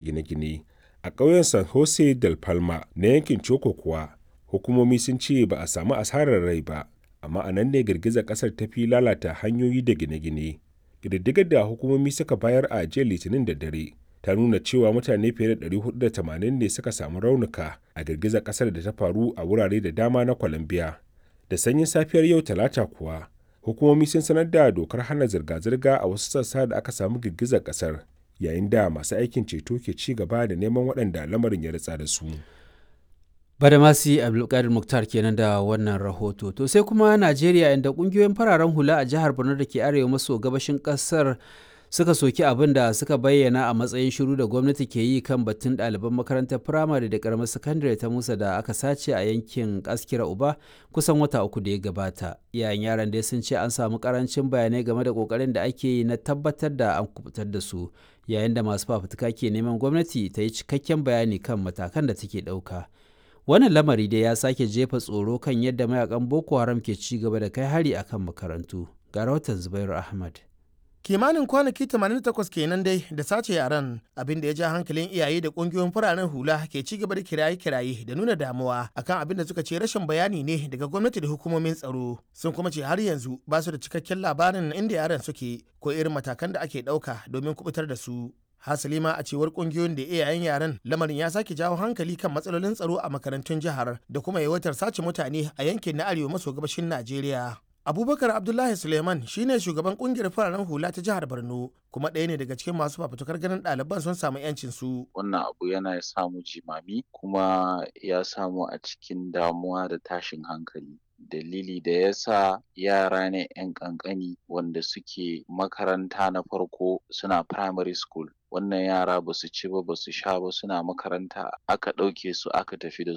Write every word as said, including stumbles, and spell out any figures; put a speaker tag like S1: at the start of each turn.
S1: Gine-gine. A ƙauyen San Jose del Palma na yankin Choco kuwa, hukumomi sun ce ba a sami asarar rai ba, amma a nan ne girgizar ƙasar ta fi lalata hanyoyi da gine-gine. Ƙididdigar da hukumomi suka bayar a jiya Litinin da dare ta nuna cewa mutane fiye da ɗari huɗu da tamanin ne suka samu raunuka a girgizar ƙasar da ta faru a wurare da dama na Colombia. Da sanyin safiyar yau Talata kuwa, hukumomi sun sanar da dokar hana zirga-zirga a wasu sassa da aka samu girgizar ƙasar, yayin da masu aikin ceto ke ci gaba da neman waɗanda lamarin ya ritsa da su.
S2: Badamasi Abdulkadir Muktar kenan da wannan rahoto. To sai kuma Najeriya, inda kungiyoyin fararen hula a jihar Borno da ke arewa maso gabashin kasar suka soki abin da suka bayyana a matsayin shiru da gwamnati ke yi kan batun ɗaliban makarantar firamare da karamar sakandare ta Musa da aka sace a yankin Askira Uba kusan wata uku da ya gabata. Iyayen yaran dai sun ce an samu karancin bayanai game da kokarin da ake yi na tabbatar da an kubutar da su, yayin da masu fafutuka ke neman gwamnati ta yi cikakken bayani kan matakan da take ɗauka. Wannan lamari dai ya sake jefa tsoro kan yadda mayakan Boko Haram ke ci gaba da kai hari akan makarantu. Ga rahoton Zubairu Ahmad.
S3: Kimanin kwanaki tamanin da takwas kenan dai da sace yaran, abin da ya ja hankalin iyaye da kungiyoyin fararen hula ke ci gaba da kiraye-kiraye da nuna damuwa akan abin da suka ce rashin bayani ne daga gwamnati da hukumomin tsaro. Sun kuma ce har yanzu ba su da cikakken labarin inda yaran suke ko irin matakan da ake ɗauka domin kubutar da su. Hasali ma, a cewar kungiyoyin da iyayen yaran, lamarin ya sake jawo hankali kan matsalolin tsaro a makarantun jihar da kuma yawaitar sace mutane a yankin na arewa maso gabashin Najeriya. Abubakar Abdullahi Suleiman shine shugaban kungiyar fararen hula ta jihar Borno, kuma ɗaya ne daga cikin masu fafutukar ganin ɗaliban sun samu 'yancin su.
S4: Wannan abu yana samu jimami kuma ya samu a cikin damuwa da tashin hankali. Dalili da ya sa, yara ne 'yan ƙanƙani wanda suke makaranta na farko, suna primary school. Wannan yara ba su ci ba, ba su sha ba, suna makaranta, aka ɗauke su aka tafi da